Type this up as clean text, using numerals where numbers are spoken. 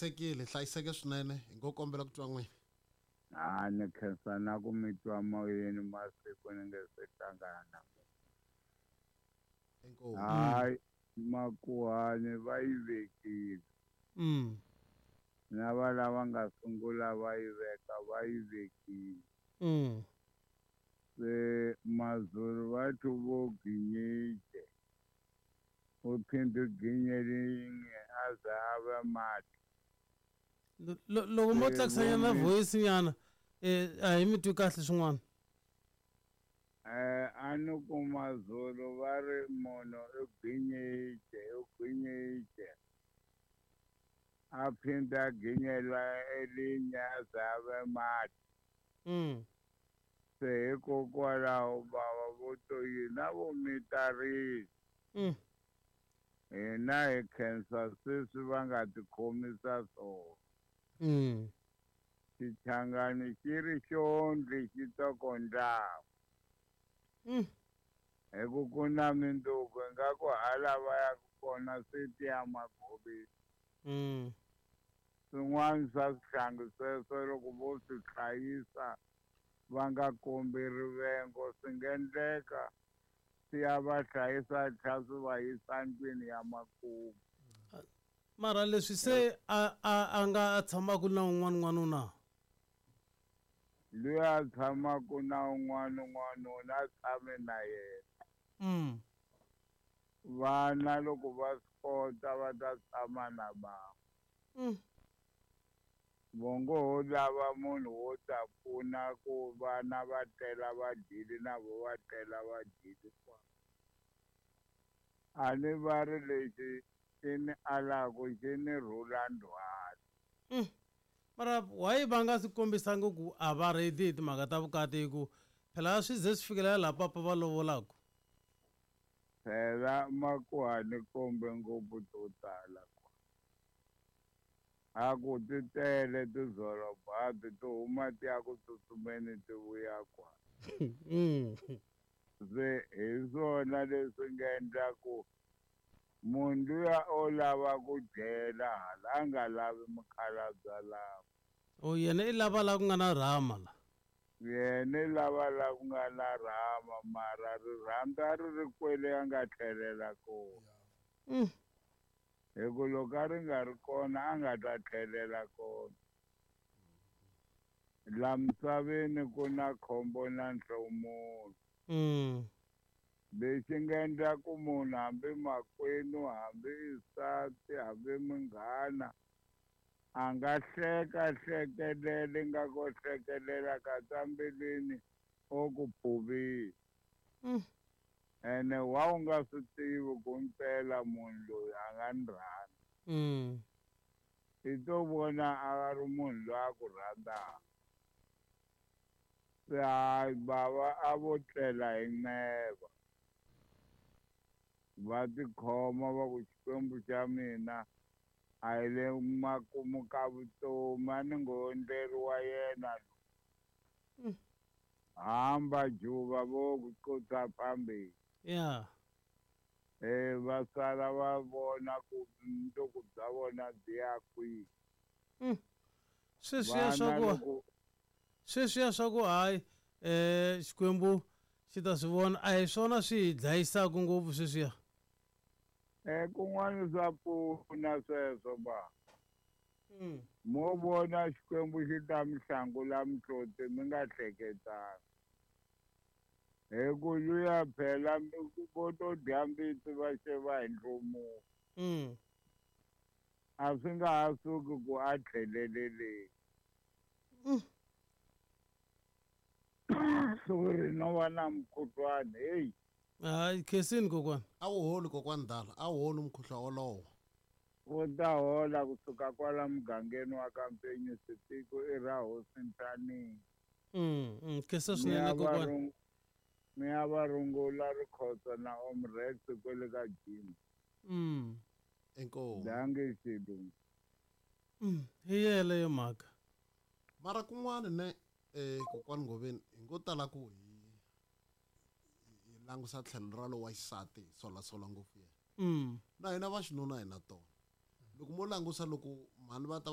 Hlayisekile, hlayiseke swinene. Hi ngo kombela ku twa n'wina. Ha ni khensa na ku mi twa moyeni masiku ni nge se hlangana. Inkomu. Hayi, makuhani va yi vekile. Na va lava nga sungula va yi veka va yi vekile. Se Mazulu va thi vo ginyile. U phinde ginyelinye a za a va mati. Loko mo tlakusanyana voice nyana, a hi mi twi kahle swin'wana. A ni ku Mazulu va ri munhu u ginyile, u ginyile. A phinde a ginyela elinye a za a va mati. Se hikokwalaho bava vo to yini a vo mitarile. Hina hi khensa sweswi va nga tikhomisa swona. Xichangani xi ri xondli xi tokondlaku. Hi ku ku na minduku ingaku hala va yaka kona swi tiya magoveni. Swin'wana swa swihlangi sweswo loko vo swi hlayisa va nga kombi rivengo swi nga endleka swi ya va hlayisa tlhela swi va yisa ndlwini ya makumu. Mara leswi se a nga tshamaka na un'wana n'wanuna? Loyi a tshamaka na un'wana n'wanuna a tshame na yena. Vana loko va swi kota va ta tshama na bava. Vongo ho lava munhu wo ta pfuna ku vana va tlela va dyile na vo va tlela va dyile kwa. A ni va ri lexi xi ni alaku xi ni rhula ndzhwalo. Mara why va nga swi kombisangi ku a va ready hi timhaka ta vukati hi ku phela swi ze swi fikelela laha papa va lovolaka? Phela makuhani kombe ngopfu to tala kwa. A ku ti tele tizolobadi ti huma ti ya ku tsutsumeni ti vuya kwa. Se hi swona leswi nga endla ku munhu luya o lava ku dyela hala a nga lavi mukhalabye lava. O yena i lava la ku nga na rhama la. Yena i lava la ku nga na rhama mara rirhandzu ri ri kwele a nga tlhelela kona. Hi ku loko a ri nga ri kona a nga ta tlhelela kona. La misaveni ku na khombo na nhlomulo. Lexi nga endla ku munhu hambi makwenu hambi isati hambi munghana a nga hleka hlekelele nga ko hlekelela ka mbilwini o ku phuvile. Ene wa u nga swi tivi ku mpela munhu loyi a nga ni rhandza. I to vona a ri munhu loyi a ku rhandzaka. Se hayi bava a vo tlela hi neva. Va tikhoma va ku Xikwembu xa mina a hi le makumu ka vutomi a ni ngo endleriwa yena loyi. Hamba juba vo ku qotsa phambili. Va sala va vona ku mundzuku bya vona byi ya kwihi. Sweswiya swa ku hayi Xikwembu xi ta swi vona a hi swona swi hi dlayisaka ngopfu sweswiya. Kun'wana swa pfuna sweswo ba. Mo vona Xikwembu xi ta mi hlangula mihloti mi nga hleketanga. Hi ku luya phela vo to dya mbitsi va xeva hi nhlomulo. A swi nga ha suki ku a tlheleleleni. Sorry, no va na mukhuhlwani, hey. Hayi, khensini kokwana. A wu holi kokwana Dala, a wu holi mukhuhlwa wolowo. Wu ta hola kusuka kwala mugangeni wa ka Mpenyu Sitiko i ra hosi Nthanini. Khensa swinene kokwana. Mi ya va rungula Rikhotso na Omrex kwele ka gym. Inkomu. Dange xilungu. Hi yeleyo mhaka. Mara kun'wana ne kokwana Ngoveni hi ngo tala ku hi langusa tlhelo ra lowa xisati hi solasola ngopfu yena. Na hina va xinuna hi na tona. Loko mo langusa loko mhani va ta